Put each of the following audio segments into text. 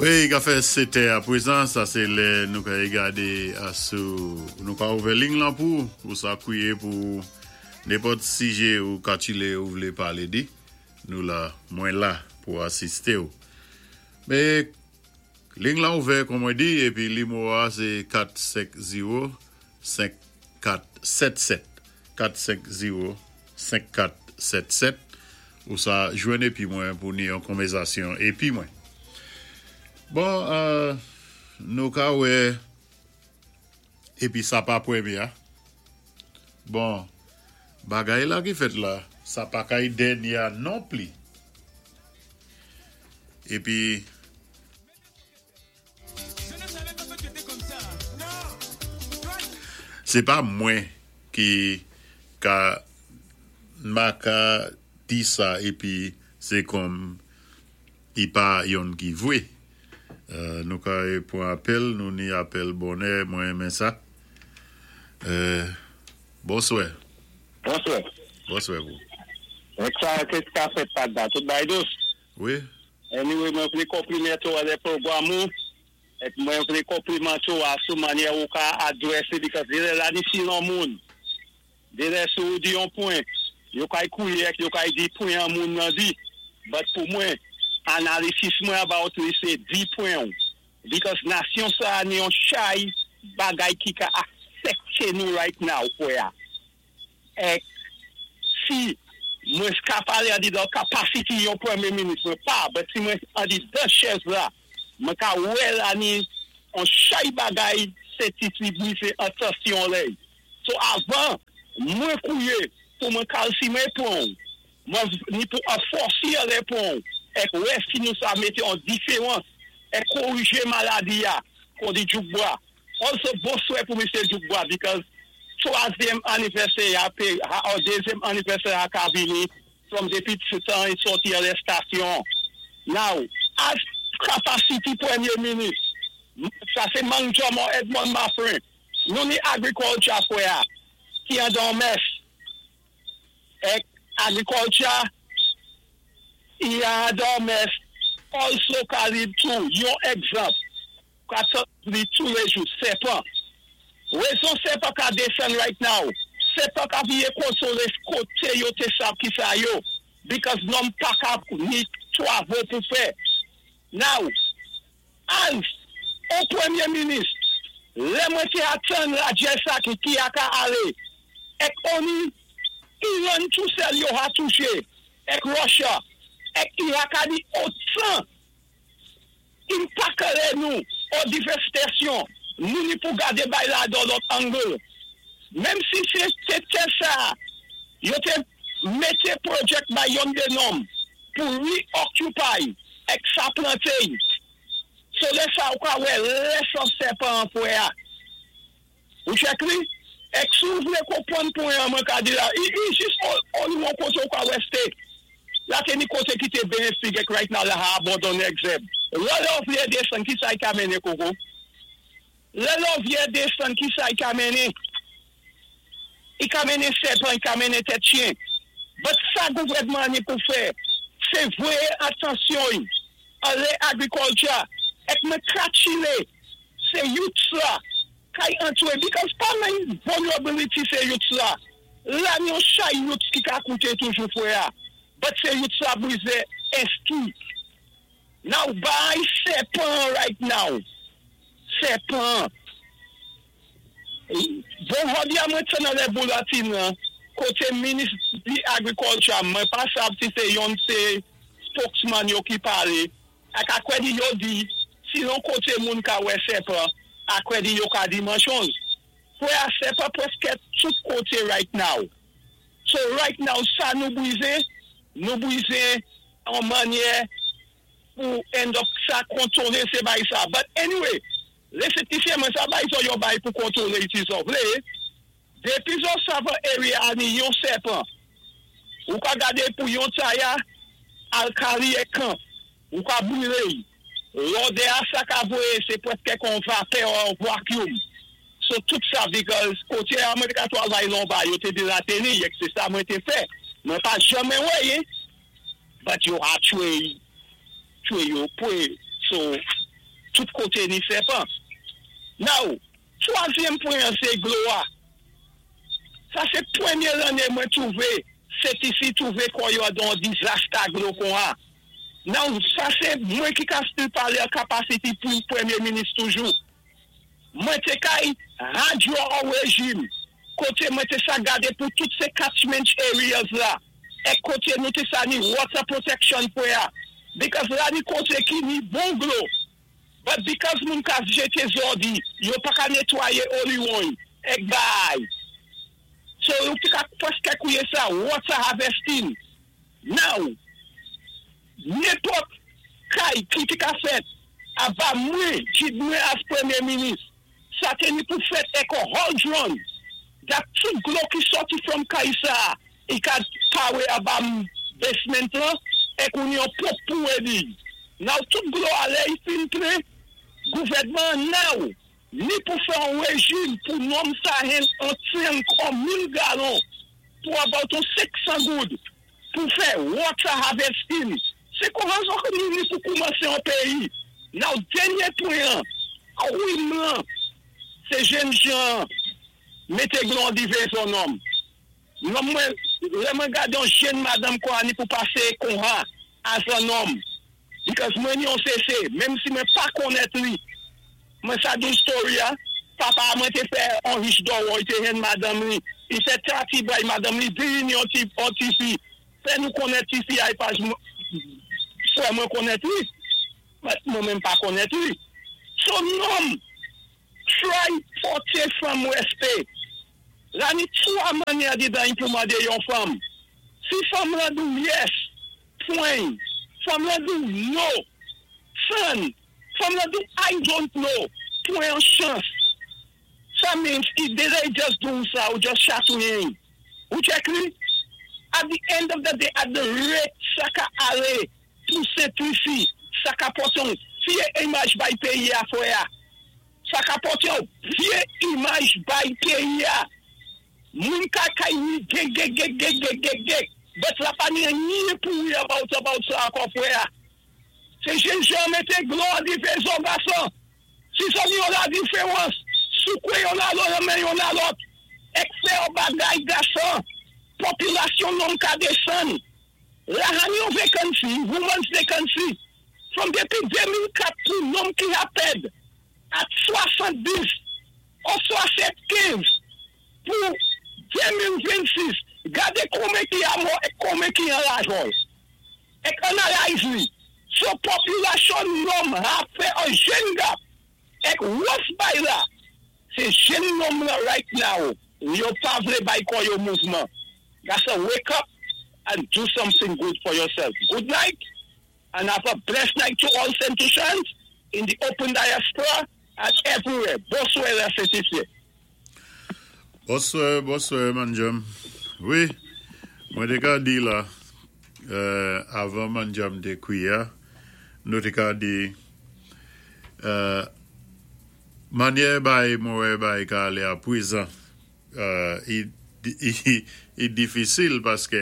Wi, ka fè 7 è apwezan, sa sé lè nou ka gadé sou nou ka ouvè ling lan pou ou sa kwié pou nenpòt sijé ou katchilé ou vlé palé di. Nou la, mwen la pou asisté ou. Mé ling lan ouvè kon mwen di épi limwo a sé 4 5 0 5 4 7 7 4 5 0 5 4 7 7 ou sa jwenn épi mwen pou ni yon konvèzasyon épi mwen. Bon, nou ka wè épi sa pa pwémyé a. Bon, bagay la ki fèt la, sa pa kay dènyé a non pli. Épi. Sé pa mwen ki ka ma ka di sa épi sé kòm i pa yonn ki vwé. Nou ka pwan apèl, nou ni apèl bonè, mwen renmen sa. Bonswè. Bonswè. Bonswè pou. Ek sa ke ka fèt pat la, tout bay dous. Wi. Anyway, mwen vlé konplimante ou alè pwogwam ou, ek mwen vlé konplimante ou a sou mannyè ou ka adwèsé because dé lè la ni si lon moun. Dé lè sou ou di yon pwen, yo kay kwié ek yo kay di pwen an moun nan di. But pou mwen, analysis mwen about li sé di pwen ou. Because nasyon sa ni yon chay bagay ki ka afekté nou right now fwè a. Ek si mwen ka palé an di dan capacity yon pwémyé minis mwen pa, but si mwen an di dan chèz la, mwen ka wè la ni on chay bagay sé ti ti brizé atansyon lèy. So avan mwen kwié pou mwen kalsime pwen ou, mwen ni pou anfòsi lè pwen ou, ek wè si nou sa mété an diféwans, ek korijé maladi a, kon di Djoukbwa. Also, bonswè pou Mr. Djoukbwa because twazyèm anivèsè a pé, ha, ou dézyèm anivèsè a ka vini from dépi tan i sòti arestasyon. Now, as capacity pwémyé minis, sa sé Mang Jomo Edmond Maffrin, nou ni agriculture fwè a, ki an dan mess. Ek agriculture, i an dan mess, also ka lead to, yon egzanp, ka li tou lé jou, sèpan. Wézon sèpan ka desann right now, sèpan ka vié konsolé koté yo té sab ki sa yo, because nonm pa ka ni twavo pou fè. Now, as on pwémyé minis, lè mwen té atann radyè sa ki ki a ka alé, ek oni Iran tou sèl yo ha touché, ek Russia, ek i ha ka di otan im pa kéré nou o divèstasyon, nou ni pou gadé bay la dan lòt angle. Menm si sé té sa, yo té mété project bay yon dé nonm pou reoccupy ek sa planté. So lè sa ou ka wè lè san sèpan an fwè a. Ou check li? Ek si ou vlé konpwann pwen an mwen ka di la, i jis on yon koté ou ka wè steak. La té ni koté ki té benefik ek right now la ha abandonné ek zèb. Lè lò vyè desann ki sa y ka mennen koko? Lè lò vyè desann ki sa y ka mennen? I ka mennen sèpan, i ka mennen tèt chyen. But sa gouvèdman ni pou fè, sé voyé atansyon y an lè agriculture ek mwen kratchilé sé youths la kay antwé because pa men vulnerability sé youths la. La ni yon chay youths ki ka kouté toujou fwè a. But sé youths la brizé enski. Now bay sèpan right now. Sèpan. Bon hodi a mwen té nan lè bulletin lan, koté minis di agriculture, mwen pa sav si sé yon sé spokesman yo ki palé, ak akwè di yo di, si yon koté moun ka wè sèpan, akwè di yo ka di manchonz. Fwè a sèpan pwèskè tout koté right now. So right now, sa nou brizé an mannyè pou end up sa kontwolé sé bay sa. But anyway, lè sé ti mwen sa bay so yo bay pou kontwolé iti zo vlé, depi zo sa va area a ni yon sèpan, ou ka gadé pou yon taya alkali e kan, ou ka brilé. Lodè a sa ka voyé, sé pwèskè kon vapè ou vacuum. So tout sa because koté a mwen te ka twavay lon ba, yo té di la teni, ek sé sa mwen té fè. Mwen pa janmen wè, but yo a tchwé, tchwé yo pwé. So, Tout koté ni sèpan. Now, twazyèm pwen sé dlo a. Sa sé pwémyé lanné mwen twouvé, Sent Lisi twouvé kò yo dan disaster dlo kon a. Now, sa sé mwen ki ka still palé an capacity pou pwémyé minis toujou. Mwen té kay radyo an rejim, koté mwen té sa gadé pou tout sé catchment areas la, é koté nou té sa ni water protection pou ya. Because la ni koté ki ni bon dlo, but because moun ka jété zòdi, yo pa ka nétwayé oliwoy, ek bay. So yo té ka pwèské kwié sa, water harvesting. Now, nenpòt kay ki té ka fèt, aba mwen, jid mwen as pwémyé minis, sa té ni pou fèt ek an hydrant, that tout dlo ki sòti from kay sa, i ka power aba basement lan, ek ou ni an ponp pou édi. Now, tout dlo alé i fin plen, gouvèdman now, ni pou fè an rejim pou nonm sa hen an tank an 1000 galon, pou about an 500 goud, pou fè water harvesting. Sé kon rezon ke nou ni pou koumansé an péyi. Now, dènyé pwen, kouim lan, sé jenn jan, mété dlo an divé son nonm. Non mwen, lè mwen gadé an jenn madanm kwa ni pou pasé kon ha, as an nonm. Because mwen ni an CC, menm si mwen pa konnèt li, mwen sa di story ya, papa mwen té fè an rich do, i té hen madanm li, i fè trati bay madanm li, di ni an ti, an ti fi, fè nou konnèt ti fi ay paj fè mwen konnèt li, but mwen menm pa konnèt li. So nonm, try pòté fanm wèspè. La ni twa mannyè di dan pou mandé yon fanm. Si fanm la di ou yes, pwen. Fanm la di ou no, son. Fanm la di ou I don't know, pwen an chans. Sa means if they just do sa ou just chatouye. Ou check li? At the end of the day, at the rate sa ka alé, pou Sent Lisi, sa ka pòté yon vyé imaj bay péyi a fwè a. Sa ka pòté yon vyé imaj bay péyi a. Moun ka kay ni gek gek gek gek gek gek gek. But la pa ni ni pou wi about sa ankò fwè a. Sé jenn jan mété dlo an difé zo gason. Si sa ni yon la diferans, soukoué yon a lòt, men yon a lòt. Ek fè yon bagay gason, popilasyon nonm ka désann. La han yon vacancy, women's vacancy, from dépi 2004 pou nonm ki a pèd, at 70 ou 75 pou 2026, gadé konbyen ki a mò é konbyen ki an lajòl. Ek analyze li. So popilasyon nonm a fè an jenn gap. Ek what's bay la, sé jenn nonm la right now, yo pa vlé bay kò yo mouvman. Gason, wake up and do something good for yourself. Good night, and have a blessed night to all Saint Lucians in the open diaspora and everywhere. Bonswè, la Saint-Lucie. Bonswè, bonswè, Manjam. Wi, mwen té ka di la, avan Manjam té kwiya, nou té ka di, mannyè bay mwen wè bay ka alé a pwézan, i difisil paské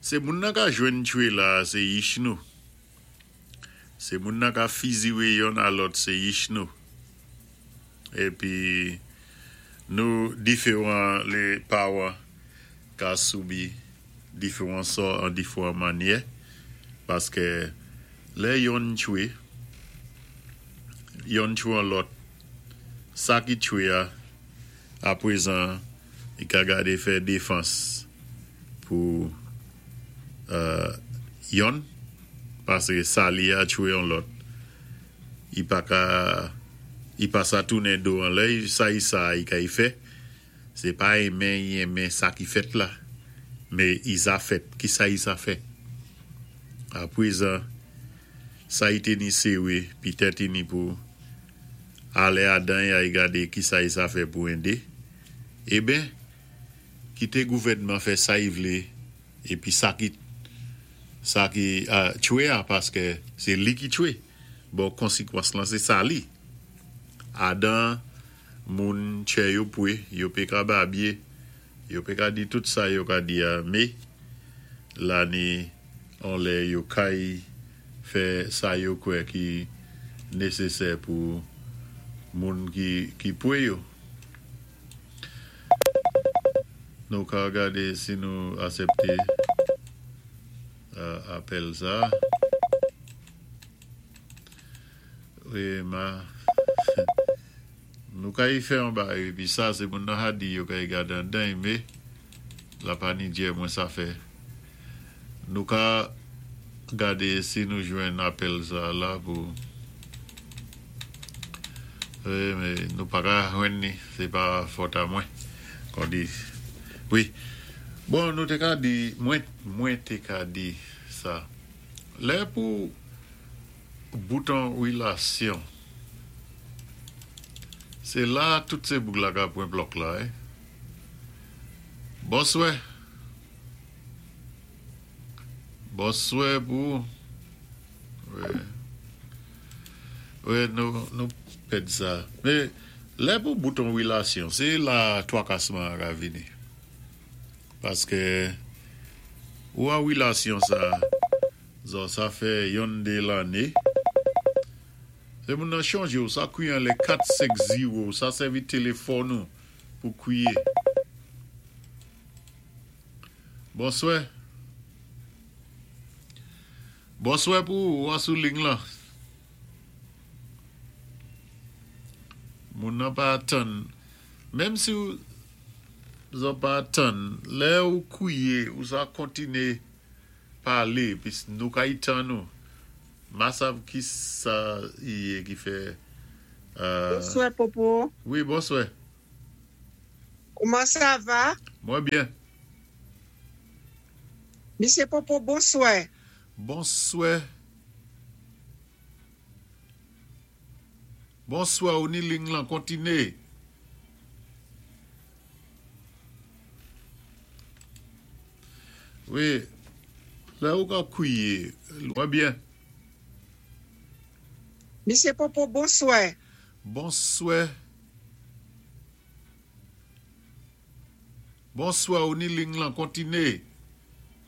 sé moun nan ka jwenn tchwé la, sé yich nou. Sé moun nan ka fiziwé yonn a lòt, sé yich nou. Épi nou diféwan lé pawan ka soubi diféwan sò an diféwan mannyè paské lè yonn tchwé, yonn tchwé an lòt, sa ki tchwé a, apwézan i ka gadé fè défans pou yonn paské sa li a tchwé an lòt i pa ka i pa sa tounen do an lè sa i sa i ka i fè sé pa enmen i enmen sa ki fèt la mé i sa fèt ki sa i sa fè apwézan sa i té ni séwé pitèt i ni pou alé adan y ay gadé ki sa i sa fè pou édé eben kité gouvèdman fè sa i vlé épi sa ki tchwé a paské sé li ki tchwé bon konsékwans lan sé sa li adan moun tchè yo pwé yo pé ka babyé yo pé ka di tout sa yo ka di a mé la ni an lè yo kay fè sa yo kwè ki Nésésè pou moun ki pwé yo. Nou ka gadé si nou asèpté apèl sa. Wi ma nou ka y fè yon bagay épi sa sé moun nan Hadi yo ka y gad andan y mé la pa ni dyè mwen sa fè nou ka gade si nou jwenn apèl sa la pou wi mé nou pa ka jwenn ni sé pa fòt a mwen kon di wi bon nou té ka di mwen mwen té ka di sa lè pou bouton wilasyon sé la tout sé boug la ka pwen plòk la wi bonswè bonswè pou ou wi wi nou nou pèd sa men lè pou bouton wilasyon se la twakasman an ka vini paske ou an wilasyon sa Zò sa fè yonn dé lanné. Lè moun nan chonjé ou sa kwiye anlè 4 5 ziwo ou sa sèvi téléfòn ou pou kwiye. Bonswè. Bonswè pou ou, ou an sou ling lan. Moun nan pa tann. Menm si ou zò pa tann, lè ou kwiye ou sa kontiné Pale pis nou ka y tann ou. Ma sav kisa i ye ki fè euh. Bonswè Popo. Wi bonswè. Kouman sa va? Mwen byen. Misye Popo bonswè. Bonswè. Bonswè ou ni ling lan kontine. Wi lè ou ka kwiye mwen byen. Misye Popo bonswè. Bonswè. Bonswè ou ni ling lan kontine.